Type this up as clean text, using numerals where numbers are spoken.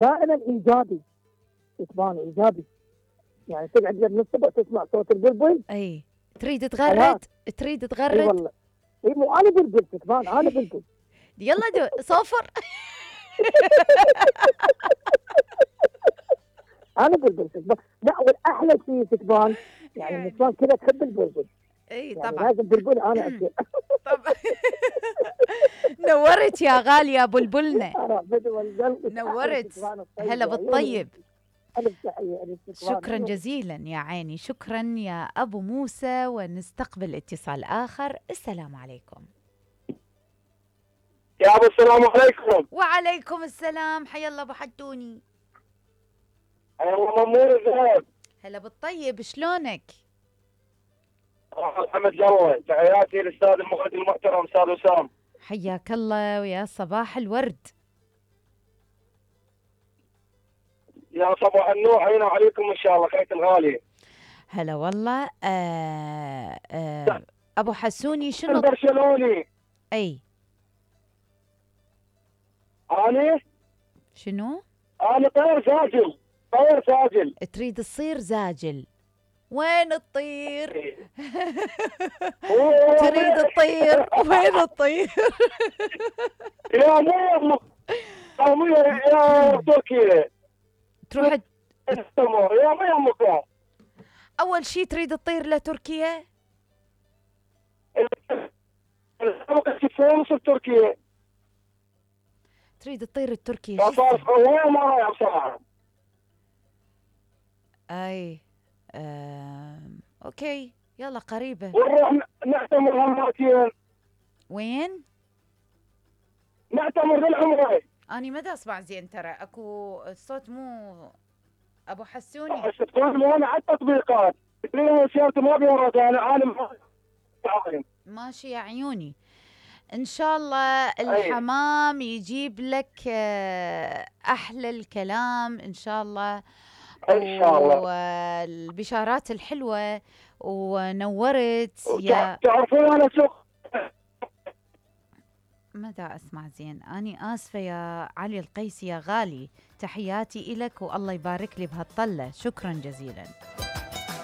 دائما ايجابي، تبان ايجابي، يعني تقعد من الصبح تسمع صوت البلبل. اي تريد تغرد، تريد اي تغرد. والله، اي مو انا بلبل تبان، انا بلبل. يلا صفر. انا بلبل تكبان. لا والاحلى شيء تكبان، يعني النسوان كذا تحب البلبل، اي يعني طبعا. لازم بلبل انا اكل. طبعا. نورت يا غالية بلبلنا، انا بدو القلب نورت. تكبان هلا الطيب، عيوني. بالطيب. الف تحيه الف تكبان، شكرا جزيلا يا عيني، شكرا يا أبو موسى. ونستقبل اتصال آخر. السلام عليكم. يا ابو السلام عليكم. وعليكم السلام، حيا الله ابو حدوني. ايوه مأمور زين. هلا بالطيب، شلونك؟ محمد جوي، تحياتي للاستاذ المخرج المحترم استاذ وسام. حياك الله ويا صباح الورد. يا صباح النور، علينا وعليكم ان شاء الله خيط الغالي. هلا والله. ابو حسوني شنو؟ البرشلوني. اي انا شنو؟ انا طير ساجل، طير ساجل. تريد تصير زاجل؟ وين تطير؟ تريد تطير وين تطير؟ يا مو يا تركيا تروح يا مو اول شيء تريد تطير لتركيا؟ تركيا تريد تطير لتركيا؟ صار وين ما رايح بصراحه. اي اوكي يلا قريبه. ونروح نعتمر هماتين. وين؟ نعتمر للعمره. اني ما دا اسمع زين ترى، اكو الصوت مو ابو حسوني. الصوت مو انا على التطبيقات سيارتي ما بيورد، انا عالم ماشي يا عيوني. ان شاء الله الحمام يجيب لك احلى الكلام ان شاء الله، ان شاء الله، والبشارات الحلوه. ونورت يا تعرفون انا سوق. ما دا اسمع زين، اني اسفه يا علي القيسي يا غالي. تحياتي الك والله يبارك لي بهالطله، شكرا جزيلا.